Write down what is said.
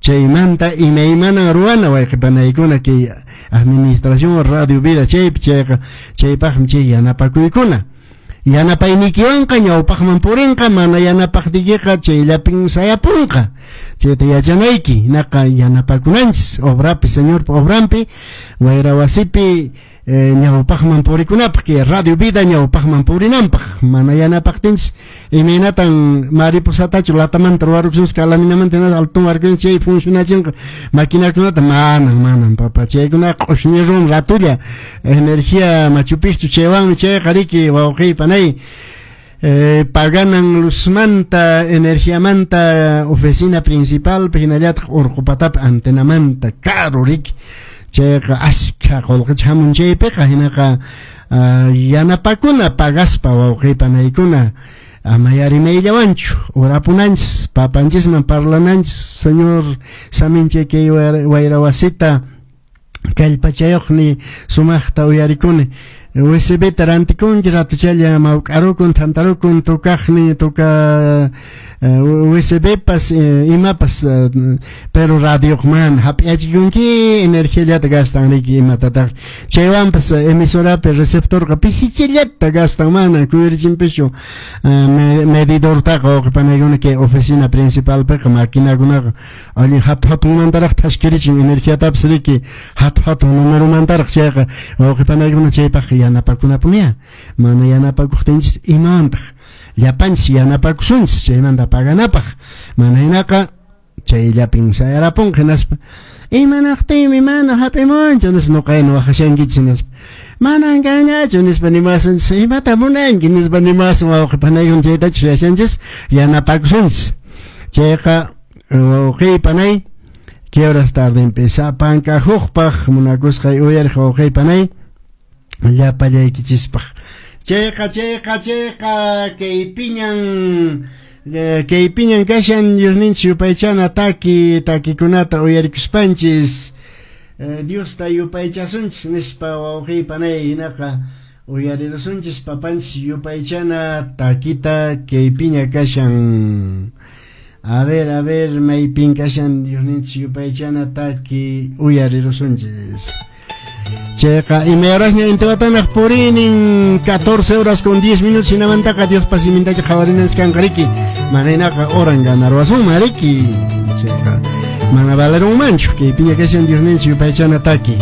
Chaymanta imaymana ruwana wayqipanaykuna kay administración Radio Vida chaypi chayqa chaypaqmi chay yanapakuykuna. Yanapaynikiwanqa ñawpaqman purinqa, mana yanapaqtiykiqa chayllapin sayapunqa. Chayta yachanayki, hinaqa yanapakunanchis obrapi, Señorpa obranpi, wayra wasipi ñawpaqman purikunapaq, kay Radio Vida ñawpaqman purinanpaq. Mana yanapaqtinchis imaynatan mariposatachu latamanta ruwarukusunchis, calaminamanta hinaspa altun warkunchis chay funcionachinqa maquinakunata, manan, manan papa, chaykunaqa q'ushñi run ratulla energía Machu Picchu chaywanmi chayqa riki wawqiy panay. Paganan luzmanta, energiamanta, oficina principal, hinallataq urqu patapi antenamanta, caro riki. Chayqa askha qullqicha hamun chaypiqa, hinaqa yanapakuna pagaspa wawqiy panaykuna, ama yarimayllawanchu, orapunanchis, papanchisman parlananchis, Señor saminchay kay wayra wasita kallpachayuqni sumaqta uyarikuni. USB ta rantikunki ratuchalla mawk'arukun, thantarukun, tukaqni tuka USB pas imapas, pero radioqman hap'iachikunki energiallata gastan riki imatataq. Chaywanpas emisorapi receptorqa pisichillata gastan, mana kuyurichinpischu medidortaqa wawqipanaykuna kay oficina principalpiqa maquinakunaqa allin hatu hatunmantaraq thaskirichin energiatapis riki hatu hatun numeromantaraq chayqa wawqipanaykuna chaypaq yanapakunapunya. Mana yanapakuqtinchis imawantaq llapanchis yanapakusunchis chaymanta paganapaq, mana hinaqa chayllapin sayarapunqa hinaspa imanaqtinmi mana hap'imunchu nispa nuqayna waqashankichis hinaspa manan kanñachu nispa nimasunchis, imata munanki nispa nimasun wawqipanaykuna chaytachu yashanchis yanapakusunchis. Chayqa wawqiy panay, ¿qué horas tardenpi sapanka hukpaq munakusqay uyariq wawqiy panay llapallaykichispaq. Chayqa chayqa chayqa kay piñan kashan Diosninchis yupaychana taki takikunata uyarikuspanchis Diosta yupaychasunchis nispa wawqiy panay, hinaqa uyarirusunchis papanchis yupaychana takita kay piña kashan. A ver, a ver, maypin kashan Diosninchis yupaychana taki uyarirusunchis. Chayqa imay horasña intiwatanaq purinin 14 horas con 10 minutos hinamantaqa Diospa simintacha qhawarinanchis kanqa riki, mana hinaqa oran ganarwasunman riki, chayqa mana valerunmanchu. Kay piña kashan Diosninchis yupaychana taki.